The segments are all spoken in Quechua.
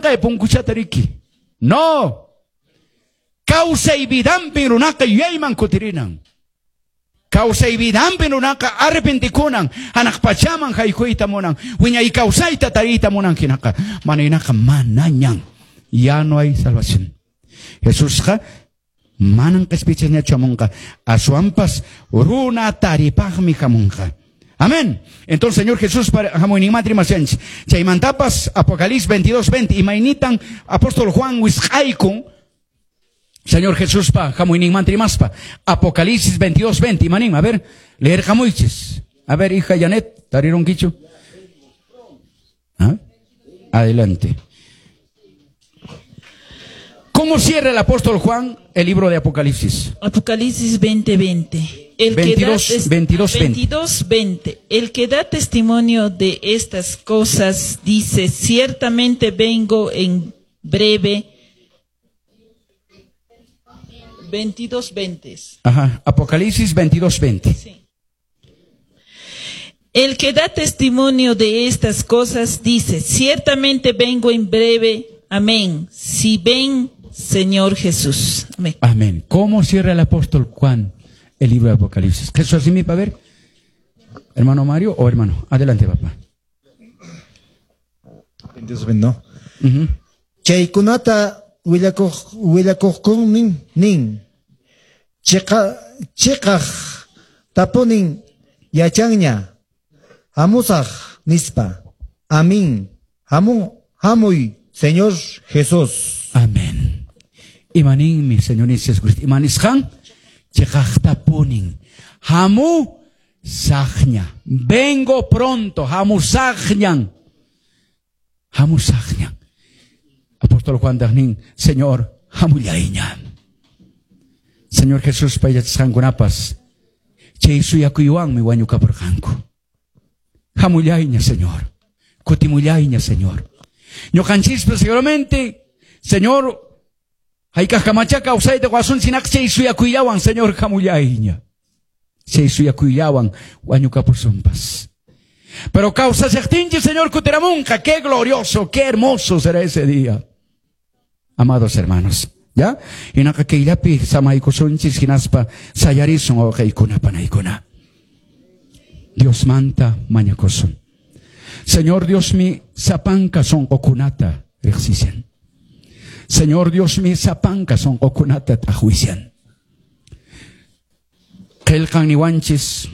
Punkuchata riki. No. Kawsay vidanpin runaqa yuyayman kutirinan. Kawsay vidanpin runaqa arrepentikunan, hanaq pachaman haykuyta munan, wiñay kawsayta tariyta munan hinaqa, mana hinaqa manañan. Ya no hay salvación. Jesusqa manan qespichiqñachu hamunqa, aswanpas runa taripaqmi hamunqa. Amén. Entonces, Señor Jesús hamuyninmanta rimashanchis. Chaymantapas Apocalipsis 22:20, imaynitan apóstol Juan wisq'aykun Señor Jesuspa hamuyninmanta rimaspa. Apocalipsis 22:20, imanin, a ver, leerqamuychis. A ver, hija Janet, tarirunkichu? ¿Ah? Adelante. ¿Cómo cierra el apóstol Juan el libro de Apocalipsis? Apocalipsis 20:20. El 22, que da 22, 20. 22:20. El que da testimonio de estas cosas dice: ciertamente vengo en breve. 22:20. Ajá, Apocalipsis 22:20. Sí. El que da testimonio de estas cosas dice: ciertamente vengo en breve. Amén. Si ven, Señor Jesús. Amén. Amén. ¿Cómo cierra el apóstol Juan el libro de Apocalipsis? Jesús, así mi para ver. Hermano Mario o hermano. Adelante, papá. 22, no. Ujú. Chaykunata willakuq willakuqkunin nin. Chiqa chiqaq tapunin yachanña. Hamusaq nispa. Amén. Hamu hamuy, Señor Jesús. Amén. Imaninmi, Señor Jesucristo. Imanisqan chiqaqtapunin. Hamusaqña. Vengo pronto. Hamusaqñan. Hamusaqñan. Apóstol Juan nin, Señor, hamullayña. Señor Jesús yachasqankunapas chay suyakuywanmi wañukapurqanku. Hamullayña, Señor. Kutimullayña, Señor. Ñuqanchispas seguramente, Señor, hayk'aqkamachá kawsayta qowasun sinaqa chay suyakuyllawan, Señor, hamullayña. Chay suyakuyllawan wañukapusunpas. Pero kawsashaqtinchis, Señor, kutiramunqa, qué glorioso, qué hermoso será ese día. Amados hermanos, ¿ya? Hinaqa kayllapi samaykusunchis hinaspa sayarisun wawqiykuna panaykuna. Diosmanta mañakusun. Señor Diosmi sapanka sunqukunata riqsishan. Señor Diosmi sapanka sunqukunata t'aqwishan. Qillqan niwanchis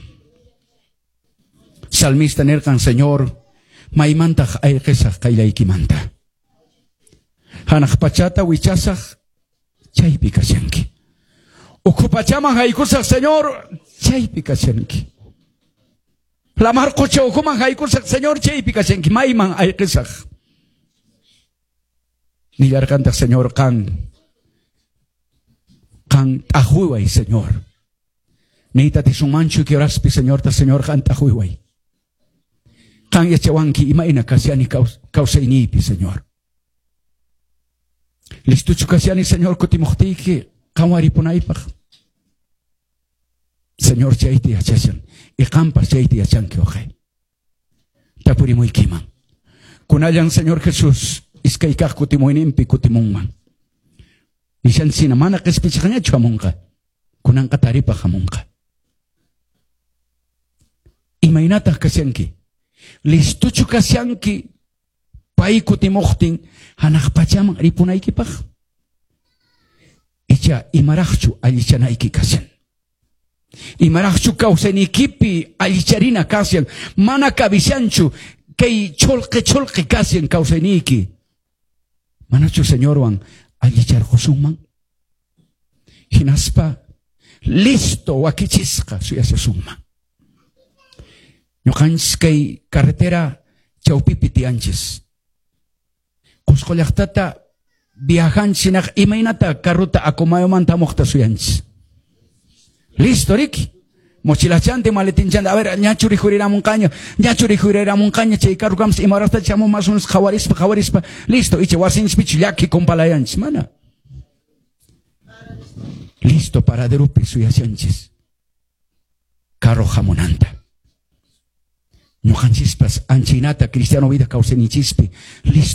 salmista nirqan, Señor, maymantaq ayqisaq qayllaykimanta. Hanaq pachata wichasaq chaypi kashanki. Ukhu pachaman haykusaq, Señor, chaypi kashanki. Lamar qucha ukhuman haykusaq, Señor, chaypi kashanki. Mayman ayqisaq. Nillarqantaq, Señor, qan qan t'aqwiway, Señor. Niyta atisunmanchu kay horaspi, Señorta, Señor, qan t'aqwiway. Qan yachawanki imayna kashani kawsayniypi, Señor. Listuchu kashani, Señor, kutimuqtiyki qanwan ripunaypaq. Señor, chayta yachashan. Y qanpas chayta yachanki, wawqi. Tapurimuykiman. Kunallan, Señor Jesús, iskay kaq kutimuyninpi kutimunman. Nishansina mana qispichiqñachu hamunqa. Kunanqa taripaq hamunqa. Imaynataq kashanki? Listuchu kashanki pay kutimuqtin hanaq pachaman ripunaykipaq? Icha imaraqchu allichanayki kashan? Imaraqchu kawsayniykipi allicharina kashan? Mana kabishanchu kay chulqi chulqi kashan kawsayniyki? Manachu Señorwan allicharqusunman? Hinaspa listo wakichisqa suyashasunman. Ñuqanchis kay carretera chawpipi tiyanchis. Cusco llaqtata viajanchis hinaq imaynata carruta Acomayomanta hamuqta suyanchis. Listo, riki. Mochilachante, maletinchante. A ver, ñachu rikhuriramunqaña, ñachu rikhuriramunqaña, chay carro kamas ima horasta chamun más o menos qhawarispa, qhawarispa. Listo, icha wasinchispichu llaki kumpalayanchis, mana. Listo, paraderopi suyashanchis. Carro hamunanta. Ñuqanchispas anchaynata cristiano vida kawsayninchispi listo.